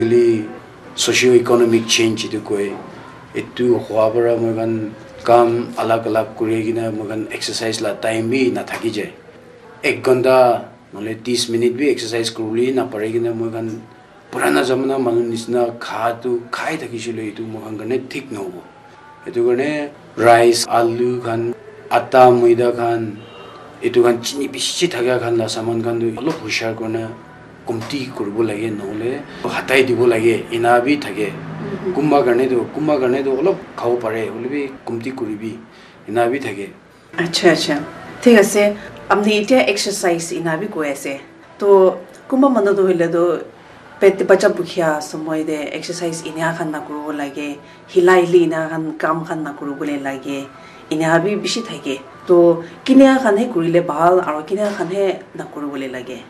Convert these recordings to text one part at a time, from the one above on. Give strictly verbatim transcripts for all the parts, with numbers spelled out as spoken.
Actually, socio economic change itu koi. Itu hua para moi khan kam alag alag kuri kena moi khan exercise la time bi nathaki jai. Ek ghanta nahole tis minute bi exercise kuribole napare kena moi khan purana zamana manu nisina kha tu khai thakisile itu moi khan karne thik nahobo. Etu karne rice, alu khan, atta, maida khan, etu khan chini bishi thaka khan la saman khan tu olop hushar kurna komti kuribo lage, nahole hatai dibo lage, ena bi thake. Kunba karne tu, kunba karne tu olop khabo pare, hoile bi komti kuribi, ena bi thake. Acha, acha. Thik ase. Apni etia exercise ena bi koi ase. To kunba manu tu hoile tu pet bacha bukhiya somoy te exercise ena khan na kuribo lage, hila hili ena khan kam khan na kuribole lage, ena bi bishi thake. To kinia khan he kurile bhal aro kinia khan he na kuribole lage?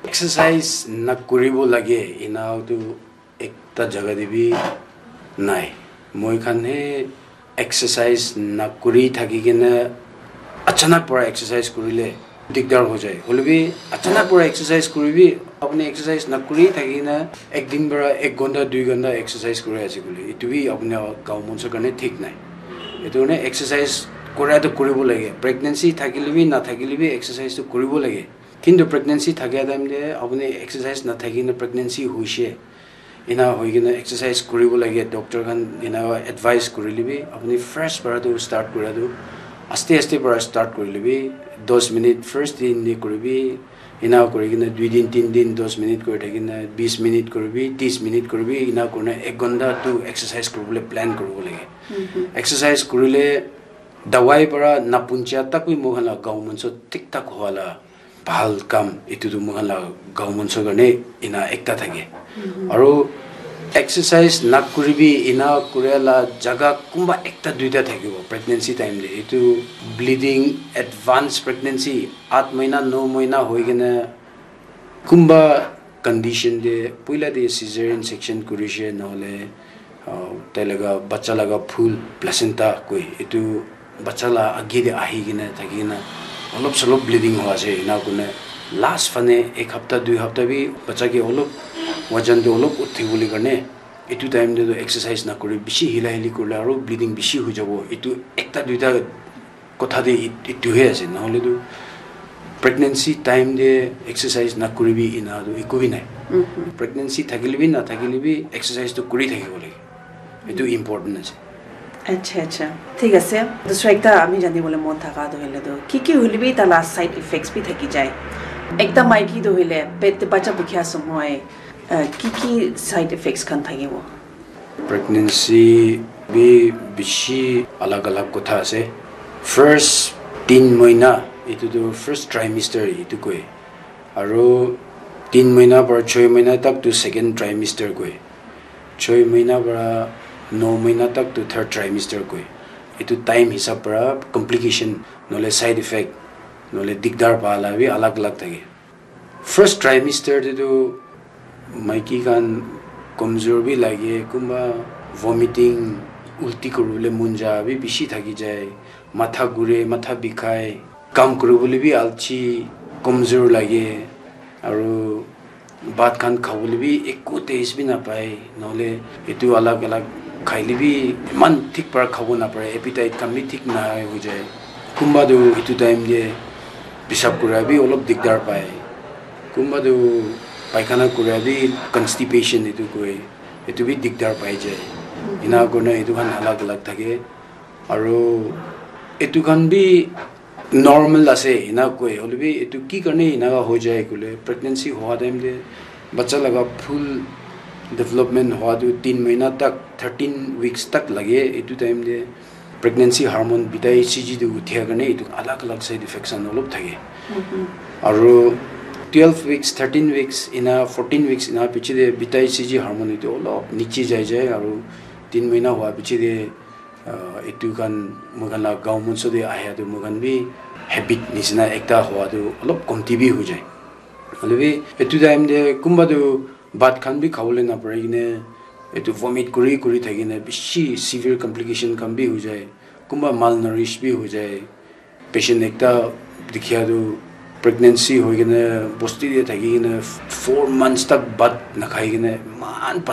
Exercise na kuribo lage, ena tu ekta jaga te bi nai. Moi khan he exercise na kuri thaki kena achanak para exercise kurile dikdar ho jai. Hoile bi achanak para exercise kuribi, apni exercise na kuri thaki kena ek din para ek ghanta, dui ghanta exercise kuri ase koile, itu bi apni gaon manso karne thik nai. Itu karne exercise kura tu kuribo lage. Pregnancy thakile bi na thakile bi exercise tu kuribo lage. Kintu pregnancy thakia time te apni exercise na thaki kena pregnancy hoise, ena hoi kena exercise kuribo lage, doctor khan ena advice kurile bi, apni first para tu start kura tu, aste aste para start kurile bi, dos minute first din ni kuribi, ena kuri kena dui din, tin din, dos minute kuri thaki kena, bis minute kuribi, tis minute kuribi, ena kurina ek ghanta tu exercise kuribole plan kuribo lage. Exercise kurile dawai para napuncha tak bi moi khan la gaon manso thik thak hua la bhal kam, etu tu moi khan la gaon manso karne ena ekta thake. Aru exercise na kuribi ena kuria la jaga kunba ekta duita thakibo pregnancy time te. Etu bleeding, advance pregnancy, aat mahina, no mahina hoi kena kunba condition te, puila te cesarean section kurishe, nahole, ah, tai laga bacha laga phul, placenta koi, etu bacha la age te ahi kena thaki kena olop solop bleeding hoi ase, ena kurina last phane ek hapta, dui hapta bi bacha ke olop wajan tu olop uthi bole karne, etu time te tu exercise na kuri, bishi hila hili kurle aru bleeding bishi hoi jabo. Etu ekta duita kotha te it-, itu he ase, nahole tu pregnancy time te exercise na kuribi ena tu eku bi nai. Pregnancy thakile bi na thakile bi exercise tu kuri thakibo lage. Etu important ase. Acha, acha. Thik ase. Dusra ekta ami jani bole mon thaka tu hoile tu, ki ki hoile bi ta la side effects bi thaki jai. Ekta maiki tu hoile pet te bacha bukhiya somoy, uh, ki ki side effects khan thakibo? Pregnancy bi bishi alag alag kotha ase. First tin mahina, etu tu first trimester etu koi. Aru tin mahina para choi mahina tak tu second trimester koi. Choi mahina para no mahina tak tu third trimester koi. Etu time hisab para complication, nahole side effect, nahole dikdar pa la bi alag alag thake. First trimester te tu maiki khan komjor bi lage, kunba vomiting, ulti kuribole mon ja bi bishi thaki jai, matha ghure, matha bikhai, kam kuribole bi alchi, komjor lage, aru bhat khan khabole bi eku taste bi napai, nahole etu alag alag khaile bi eman thik para khabo napare, appetite khan bi thik nahai hoi jai. Kunba tu etu time te pisab kura bi olop dikdar pai, kunba tu paikhana kura bi constipation etu koi, etu bi dikdar pai jai. Ena kurina etu khan alag alag thake. Aru etu khan bi normal ase ena koi, hoile bi etu ki karne enaka hoi jai koile, pregnancy hua time te bacha laga full development hua tu tin mahina tak, thirteen weeks tak lage. Etu time te pregnancy hormone beta H C G tu uthia karne etu alag alag side effects khan olop thake. Aru twelve weeks, thirteen weeks ena, fourteen weeks ena piche te beta H C G hormone etu olop niche jai jai, aru tin mahina hua piche te ah, etu khan moi khan la gaon manso te ahia tu moi khan bi habit nisina ekta hua tu olop komti bi hoi jai. Hoile bi etu time te kunba tu bhat khan bi khabole napari kene etu vomit kuri kuri thaki kene bishi severe complication khan bi hoi jai. Kunba malnourish bi hoi jai. Patient ekta dikhia tu pregnancy hoi kena bosti te thaki kena four months tak bhat nakhai kena eman